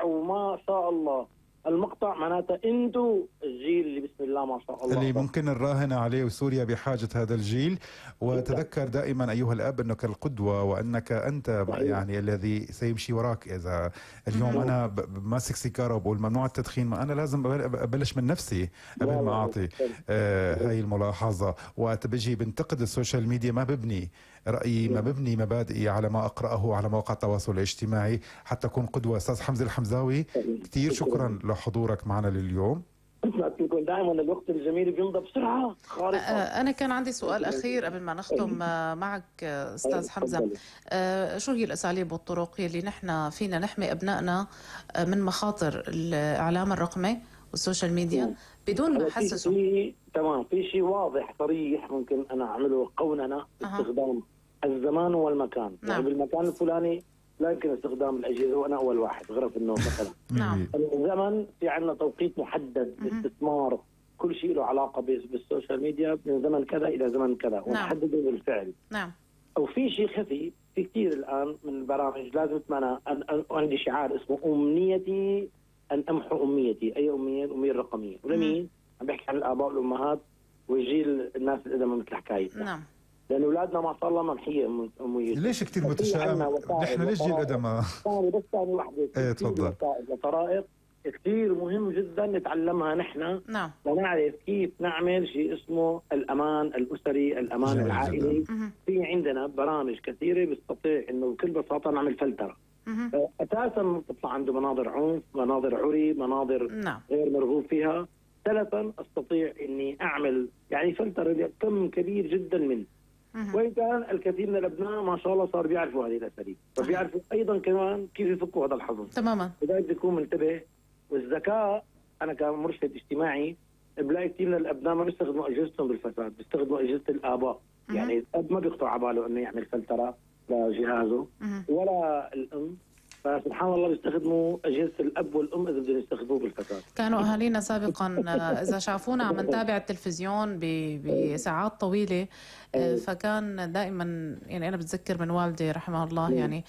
وما شاء الله المقطع معناته انتو الجيل اللي بسم الله ما شاء الله اللي ممكن نراهن عليه، وسوريا بحاجة هذا الجيل. وتذكر دائما أيها الأب أنك القدوة، وأنك أنت يعني الذي سيمشي وراك. إذا اليوم أنا ماسك سيجارة وبقول ممنوع التدخين، ما أنا لازم أبلش من نفسي قبل ما أعطي هاي الملاحظة. وقت بيجي بنتقد السوشيال ميديا ما ببني رأيي، ما ببني مبادئي على ما أقرأه على مواقع التواصل الاجتماعي حتى أكون قدوة. أستاذ حمزة الحمزاوي، كتير شكرا لحضورك معنا لليوم. دائما الوقت الجميل بيمضى بسرعة خارقة. أنا كان عندي سؤال أخير قبل ما نختم معك أستاذ حمزة. شو هي الأساليب والطرق اللي نحن فينا نحمي أبنائنا من مخاطر الإعلام الرقمي والسوشيال ميديا بدون ما نحسسهم؟ تمام، في شيء واضح صريح ممكن أنا أعمله قوننا استخدام الزمان والمكان. يعني بالمكان الفلاني لا يمكن استخدام الأجهزة وأنا أول واحد غرف النوم مثلا. نعم. الزمن في عندنا توقيت محدد لاستثمار كل شيء له علاقة بالسوشيال ميديا من زمن كذا إلى زمن كذا، ونحدده بالفعل. نعم. أو في شيء خفي، في كثير الآن من البرامج لازم أنا عندي شعار اسمه أمنيتي أن أمحو أميتي. أي أمية؟ الأمية الرقمية. ولمين؟ عم بحكي عن الآباء والأمهات وجيل الناس القدامى مثل حكايتنا. نعم. لأن أولادنا ما شاء الله ممحية أمية. ليش كثير متشائم؟ نحن ليش جيل قدامى؟ بس ثاني وحدة. ايه تفضل. طرائق كثير مهم جدا نتعلمها نحن. نعم. لنعرف كيف نعمل شيء اسمه الأمان الأسري، الأمان العائلي. في عندنا برامج كثيرة بستطيع إنه بكل بساطة نعمل فلترة. أساسا تطلع عنده مناظر عنف، مناظر عري، مناظر غير مرغوب فيها. ثالثا أستطيع إني أعمل يعني فلترة كم كبير جدا منه. وإن كان الكثير من الأبناء ما شاء الله صار بيعرفوا هذه الأساليب، فبيعرفوا أيضا كمان كيف يفكوا هذا الحظر. تماما. لذلك بيكون منتبه. والذكاء، أنا كمرشد اجتماعي بلاقي كثير من الأبناء ما بيستخدموا أجهزتهم بالفساد، بيستخدموا أجهزة الآباء. يعني الأب ما بيخطر على باله إنه يعمل فلترة لجهازه ولا الأم، فسبحان الله بيستخدموا أجهزة الأب والأم إذا بدهم يستخدموه بالفساد. كانوا أهالينا سابقا إذا شافونا عم نتابع التلفزيون بساعات طويلة فكان دائما، يعني أنا بتذكر من والدي رحمه الله، يعني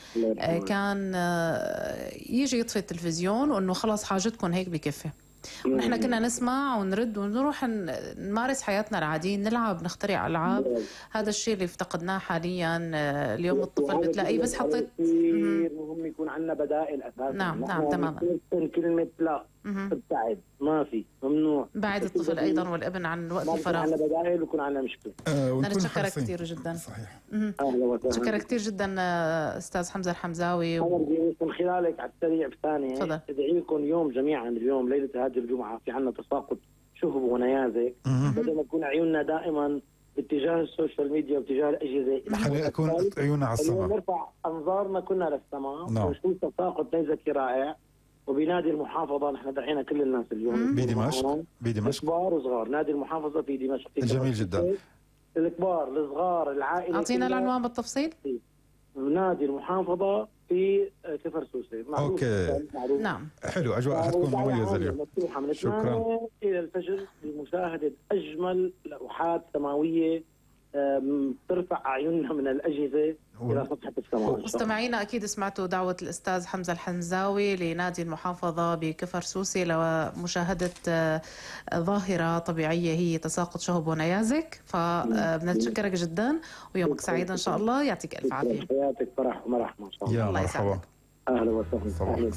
كان يجي يطفي التلفزيون وإنه خلاص حاجتكم هيك بكفي. ونحن كنا نسمع ونرد ونروح نمارس حياتنا العادية، نلعب، نخترع ألعاب. هذا الشيء اللي افتقدناه حاليا. اليوم الطفل بتلاقيه بس حطيت. مهم يكون عندنا بدائل أساسا. نعم تماما. كلمة لا، ابتعد، ما في، ممنوع. بعد الطفل أيضا والابن عن وقت الفراغ. عندنا بدائل ويكون عندنا مشكلة. نتشكرك كثير جدا. صحيح. شكرا كثير جدا أستاذ حمزة الحمزاوي. من خلالك على السريع بثانية أدعي لكم يوم جميعا، اليوم ليلة هذه الجمعة في عنا تساقط شهب ونيازك. بدل ما تكون عيوننا دائما باتجاه السوشيال ميديا واتجاه الأجهزة، خلينا نكون عيوننا على السماء، نرفع أنظارنا كنا للسماء. ونشوف تساقط نيزكي رائع. وبنادي المحافظة نحن دعينا كل الناس اليوم بدمشق كبار وصغار. نادي المحافظة في دمشق جميل جدا. الكبار الصغار العائلة. أعطينا العنوان بالتفصيل. نادي المحافظة في كفر سوسة. اوكي. نعم. حلو، اجواء حتكون مميزه اليوم. شكرا. الى الفجر لمشاهده اجمل لوحات سماويه ترفع اعيننا من الاجهزه الى سطح السماء. مستمعينا اكيد سمعتوا دعوه الاستاذ حمزه الحمزاوي لنادي المحافظه بكفر سوسه لمشاهده ظاهره طبيعيه هي تساقط شهب ونيازك. فبنتشكرك جدا ويومك سعيد ان شاء الله. يعطيك الف عافيه. حياتك فرح ومرح ما شاء الله. يا مرحبا. اهلا وسهلا.